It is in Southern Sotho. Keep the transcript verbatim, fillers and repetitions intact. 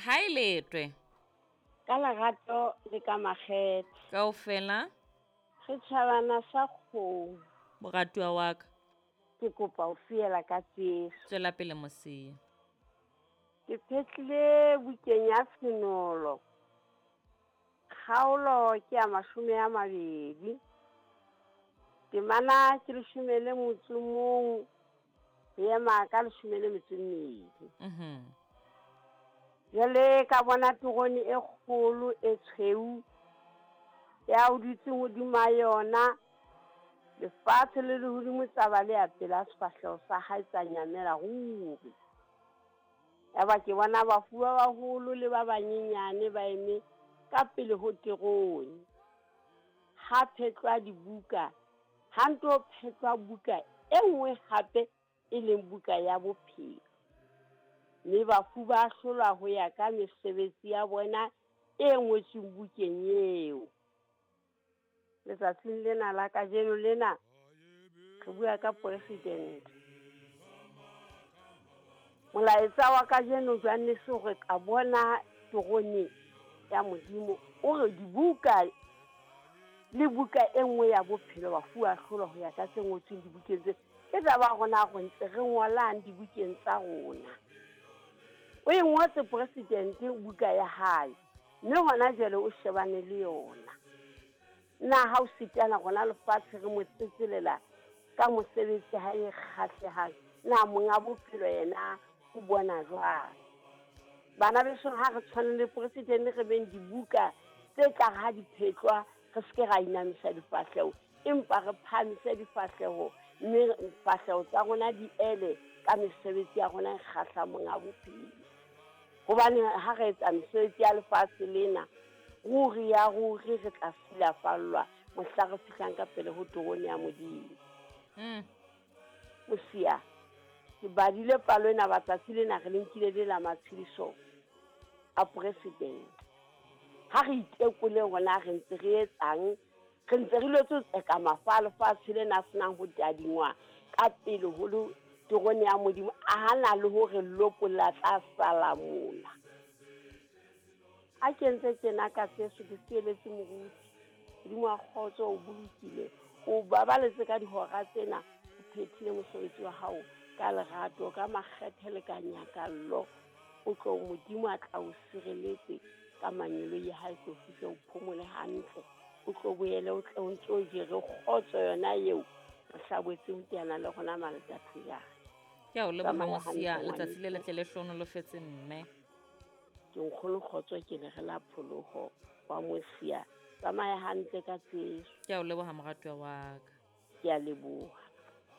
Ha e letwe. Ka lerato le ka makgethe. Kaofela. Re tjhabana sa kgomo. Moratuwa wa ka. Ke kopa ho fiela ka tseso. Tswela pele Mosia. Ke phetlile bukeng ya Tshenolo. Kgaolo ke ya mashome a mabedi. Temana ke leshome le motso mong, ho ema ka leshome le metso e mmedi. Mhm. Jwale ka bona terone e kgolo e tshweu ya o dutseng hodima yona, lefatshe le lehodimo tsa ba le ya pela sefahleho sa hae tsa nyamela ruri. Yaba ke bona bafu ba baholo le ba banyenyane ba eme ka pele ho terone. Ha phetlwa dibuka, ha nto phetlwa buka e nngwe hape e leng buka ya bophelo. Mme bafu ba ahlolwa ho ya ka mesebetsi ya bona e ngotsweng bukeng eo. Letsatsing lena la kajeno lena re bua ka president. Molaetsa wa kajeno jwanne se hore ka bona terone ya Modimo o re dibuka le buka e nngwe ya bophelo bafu ba ahlolwa ho ya ka tse ngotsweng dibukeng tse. Ke taba ya rona re ntse re ngolang dibukeng tsa rona. O e ngotse president buka ya hae, mme hona jwale o shebane le yona. Na ha o sitana rona lefatshe re mo tsetselela ka mosebetsi ha e kgahlehang, na monga bophelo yena o bona jwang? Bana beso, ha re tshwane le president re beng dibuka tse tla ha di phetlwa, re se ke ra inamisa difahleho, empa re phahamise difahleho, mme difahleho tsa rona di ele ka mesebetsi ya rona e kgahlang monga bophelo. Hobane ha re etsa mesebetsi ya lefatshe lena, ruri ya ruri re tla silafallwa mohla re fihlang ka pele ho terone ya Modimo. Mm. Mosia, ke badile palo ena matsatsi lena re le nkile le la matshediso a president. Ha re itekole rona re ntse re etsang, re ntse re lwetse ho tseka mafa a lefatshe lena a senang ho tadingwa ka pele ho le terone ya Modimo, a hana le hore lopolla tla sala mona. Ha ke ntse tjena ka tseso ke sieletse moruti. Modimo wa kgotso o bolokile, o babaletse ka dihora tsena, o phethile mosebetsi wa hao ka lerato, ka makgethe le ka nyakallo. O tlo Modimo a tla o sireletse ka mangeloi a hae, tlo fihle o phomole hantle. O tlo boele o tle o ntso o jere kgotso yona eo mohla boetseng ho teana le rona Malatathejana. Ke a o leboha Tsamaya Mosia, hantle, letsatsi le ngwaneso. letle le hlohonolofetse mme. Ke nkgono kgotso ke le re la pholoho wa Mosia. Tsamaya hantle ka tseso. Ke a o leboha moratuwa wa ka. Ke a leboha.